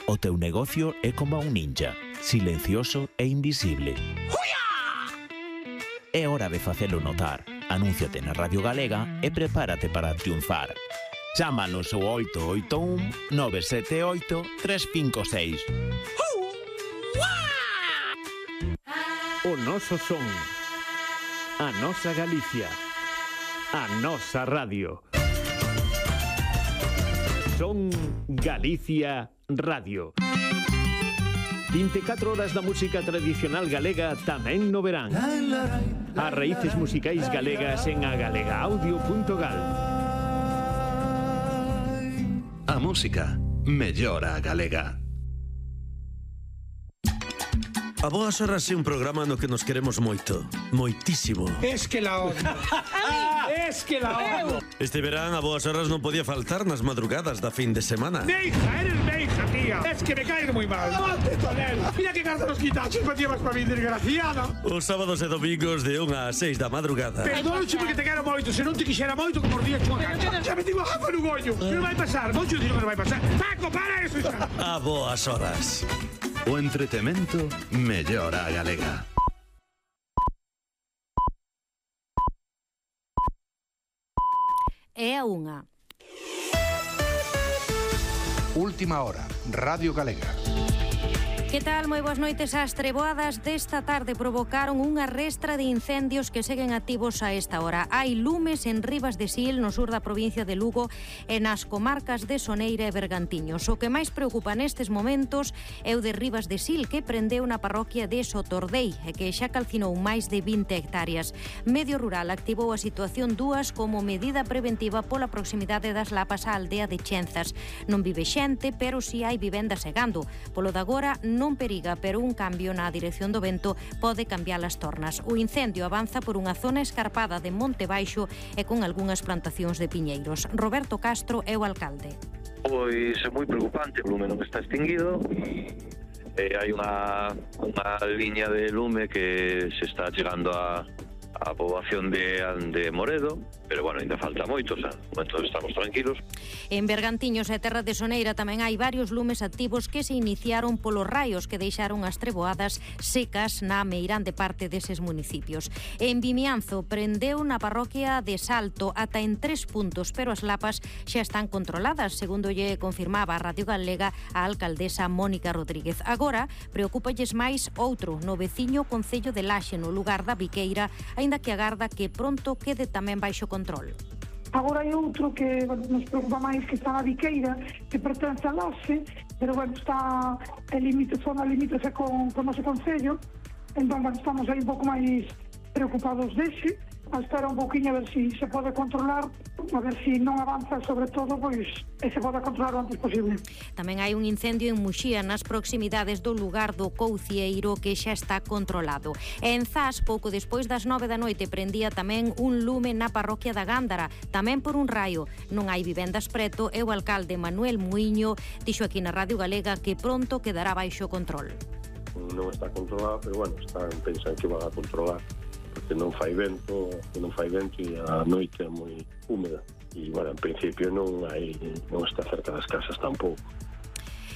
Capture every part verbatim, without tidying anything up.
O teu negocio é como un ninja, silencioso e invisible. É hora de facelo notar. Anúnciate na Radio Galega e prepárate para triunfar. Chámanos ao oito oito un nove sete oito tres cinco seis. O noso son, a nosa Galicia, a nosa radio. Son Galicia Radio. vinte e catro horas da música tradicional galega tamén no verán. As raíces musicais galegas en agalegaaudio punto gal. A música mellora a galega. A Boas Horas é un programa no que nos queremos moito, moitísimo. Es que la odio. Es que la odio. Este verán a Boas Horas non podía faltar nas madrugadas da fin de semana. Meija, eres meija, tía. Es que me caes moi mal. Avante, Tonel. Mira que carta nos quitaches para llevas para mí, desgraciada. Os sábados e domingos de unha a seis da madrugada. Perdónche porque te quero moito. Se non te quixera moito, como os días chua cancha. Xa me digo agua no goño. Que non vai pasar. Moito digo que non vai pasar. Paco, para eso xa. A Boas Horas. O entretemento mellora a galega. É a unha. Última hora, Radio Galega. Que tal? Moi boas noites. As treboadas desta tarde provocaron unha restra de incendios que seguen activos a esta hora. Hai lumes en Ribas de Sil, no sur da provincia de Lugo, e nas comarcas de Soneira e Bergantiños. O que máis preocupa nestes momentos é o de Ribas de Sil, que prendeu na parroquia de Sotordei e que xa calcinou máis de vinte hectáreas. Medio Rural activou a situación dúas como medida preventiva pola proximidade das lapas á aldea de Chenzas. Non vive xente, pero si hai vivendas segando. Polo de agora non periga, pero un cambio na dirección do vento pode cambiar as tornas. O incendio avanza por unha zona escarpada de Monte Baixo e con algunhas plantacións de piñeiros. Roberto Castro é o alcalde. Pois é moi preocupante, o lume non está extinguido e hai unha, unha liña de lume que se está chegando a a poboación de, de Moredo, pero bueno, ainda falta moito, o sea, no momento estamos tranquilos. En Bergantiños e Terra de Soneira tamén hai varios lumes activos que se iniciaron polos raios que deixaron as treboadas secas na meirande parte deses municipios. En Vimianzo prendeu na parroquia de Salto ata en tres puntos, pero as lapas xa están controladas, segundo lle confirmaba a Radio Galega a alcaldesa Mónica Rodríguez. Agora, preocúpalles máis outro no veciño concello de Laxe, no lugar da Viqueira, aínda que agarda que pronto quede tamén baixo control. Agora hai outro que nos preocupa máis, que está na Viqueira, que pertence a Laxe, pero bueno, está en límite, zona limítrofe con, con o noso concello, entón bueno, estamos aí un pouco máis preocupados dese, a espera un pouquinho a ver se si se pode controlar, a ver se si non avanza, sobre todo, pois, e se pode controlar o antes posible. Tamén hai un incendio en Muxía, nas proximidades do lugar do Coucieiro, que xa está controlado. E en Zas, pouco despois das nove da noite, prendía tamén un lume na parroquia da Gándara, tamén por un raio. Non hai vivendas preto e o alcalde Manuel Muiño dixo aquí na Radio Galega que pronto quedará baixo control. Non está controlado, pero bueno, están pensando que van a controlar, porque non fai vento, non fai vento e a noite é moi húmeda. E, bueno, en principio non hai, non está cerca das casas tampouco.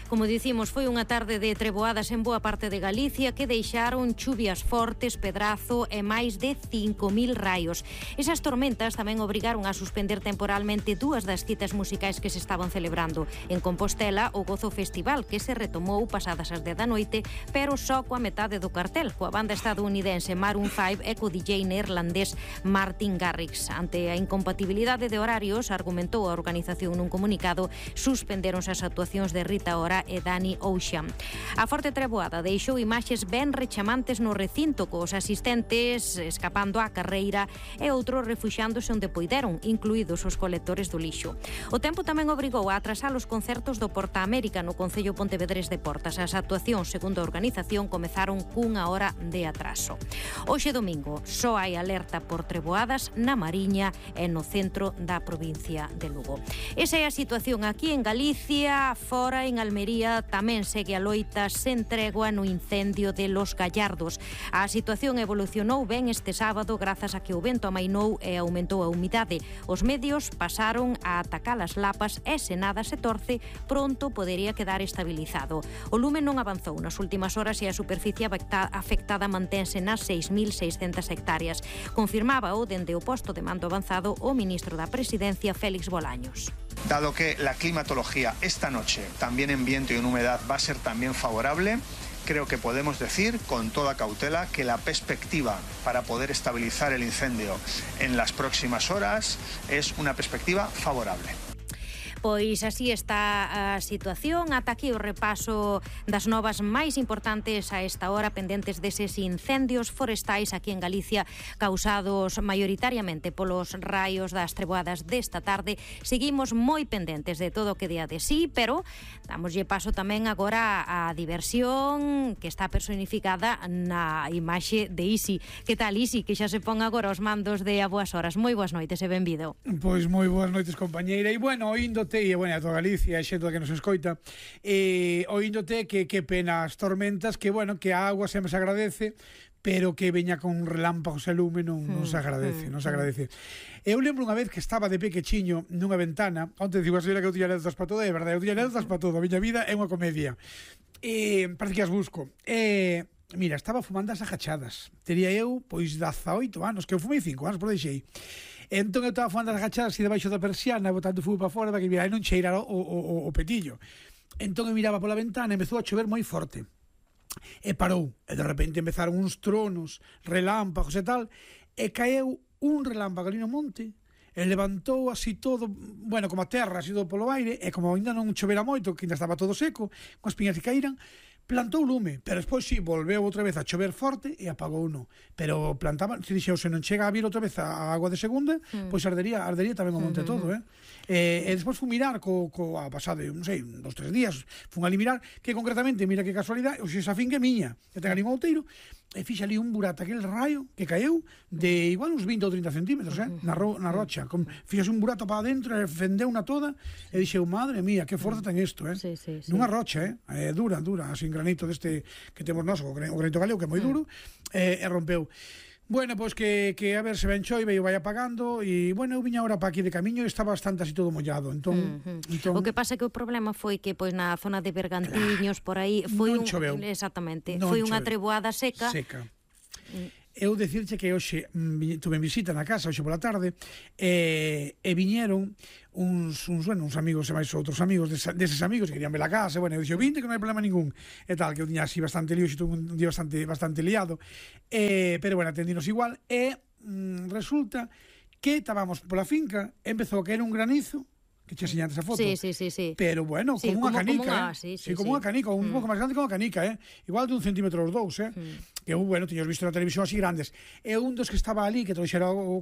Como dicimos, foi unha tarde de treboadas en boa parte de Galicia que deixaron chuvias fortes, pedrazo e máis de cinco mil raios. Esas tormentas tamén obrigaron a suspender temporalmente dúas das citas musicais que se estaban celebrando. En Compostela, o Gozo Festival, que se retomou pasadas as dez da noite, pero só coa metade do cartel, coa banda estadounidense Maroon cinco e co D J neerlandés Martin Garrix. Ante a incompatibilidade de horarios, argumentou a organización nun comunicado, suspenderonse as actuacións de Rita Ora e Dani Ocean. A forte treboada deixou imaxes ben rechamantes no recinto, cos asistentes escapando á carreira e outros refuxándose onde poideron, incluídos os colectores do lixo. O tempo tamén obrigou a atrasar os concertos do Porta América no Concello Pontevedrés de Portas. As actuacións, segundo a organización, comezaron cunha hora de atraso. Hoxe domingo só hai alerta por treboadas na Mariña e no centro da provincia de Lugo. Esa é a situación aquí en Galicia, fora en Almería Almería tamén segue a loita sen tregua no incendio de Los Gallardos. A situación evolucionou ben este sábado grazas a que o vento amainou e aumentou a humidade. Os medios pasaron a atacar as lapas e se nada se torce, pronto podería quedar estabilizado. O lume non avanzou nas últimas horas e a superficie afectada mantense nas seis mil seiscentas hectáreas. Confirmaba o dende o posto de mando avanzado o ministro da Presidencia, Félix Bolaños. Dado que la climatología esta noche, también en viento y en humedad, va a ser también favorable, creo que podemos decir con toda cautela que la perspectiva para poder estabilizar el incendio en las próximas horas es una perspectiva favorable. Pois así está a situación. Ata aquí o repaso das novas máis importantes a esta hora pendentes deses incendios forestais aquí en Galicia causados maioritariamente polos raios das treboadas desta tarde. Seguimos moi pendentes de todo o que día de sí, pero damoslle paso tamén agora á diversión que está personificada na imaxe de Isi. Que tal, Isi, que xa se pon agora os mandos de A Boas Horas? Moi boas noites e benvido. Pois moi boas noites, compañeira. E bueno, oíndote e bueno, a toda Galicia, a xente que nos escoita, e oíndote que que pena as tormentas, que bueno, que a agua sempre se agradece, pero que veña con relámpagos e lume non, non se agradece, non se agradece. Eu lembro unha vez que estaba de pequechiño nunha ventana, onte digo a señora que eu tiña anécdotas para todo, é verdade, eu tiña anécdotas para todo, a miña vida é unha comedia. E parece que as busco. E mira, estaba fumando as agachadas. Tería eu, pois, dezaoito anos, que eu fumei cinco anos, por deixei. Entón eu estaba fumando as agachadas e debaixo da persiana, botando fumo para fora, para que mira, non cheirara o, o, o petillo. Entón eu miraba pola ventana e empezou a chover moi forte. E parou. E de repente empezaron uns tronos, relámpagos e tal, e caeu un relámpago ali no monte, e levantou así todo, bueno, como a terra, así todo polo aire, e como ainda non chovera moito, que ainda estaba todo seco, con as piñas que caíran, plantou lume, pero despois si, sí, volveu outra vez a chover forte e apagou uno. Pero plantaba, se dixeu, se non chega a vir outra vez a agua de segunda, mm. pois ardería, ardería tamén o monte mm-hmm. todo, eh? E, e despois fun mirar co, co a pasado, non sei, dos, tres días, fun ali mirar, que concretamente, mira que casualidade, o xe esa fin que miña, que ten ali un outeiro, e fixe ali un burato, aquel raio que caeu de igual uns vinte ou trinta centímetros, eh? Na, ro, na rocha, con, fixe un burato para adentro, e fendeu na toda, e dixeu, madre mía, que forza ten isto, eh? Sí, sí, sí. Nunha rocha, eh? eh? Dura, dura, así granito deste que temos nós, o granito galego, que é moi duro, e, e rompeu. Bueno, pois que, que a ver se ben chove e vai apagando e, bueno, eu viña agora para aquí de camiño e está bastante así todo mollado, entón, uh-huh. entón... O que pasa é que o problema foi que pois na zona de Bergantiños, por aí foi non un... choveu. Exactamente, non foi unha choveu. treboada seca. Seca. Eu decirche que hoxe tuve visita na casa, hoxe pola tarde, e, e viñeron uns, uns, bueno, uns amigos e máis outros amigos des, deses amigos que querían ver a casa, e, bueno, eu dixo, vinte que non hai problema ningún, e tal, que eu tiña así bastante lío, xe tuve un día bastante, bastante liado, e, pero, bueno, atendinos igual, e mm, resulta que estábamos pola finca, empezou a caer un granizo, que che enseñantes a foto. Sí, sí, sí, sí. Pero, bueno, sí, como, unha canica, como eh? unha, sí, sí, sí, como sí. unha canica, un mm. pouco máis grande que unha canica, eh? Igual de un centímetro os dous, eh? Mm. Que, bueno, tiños visto na televisión así grandes. E un dos que estaba ali, que trouxera o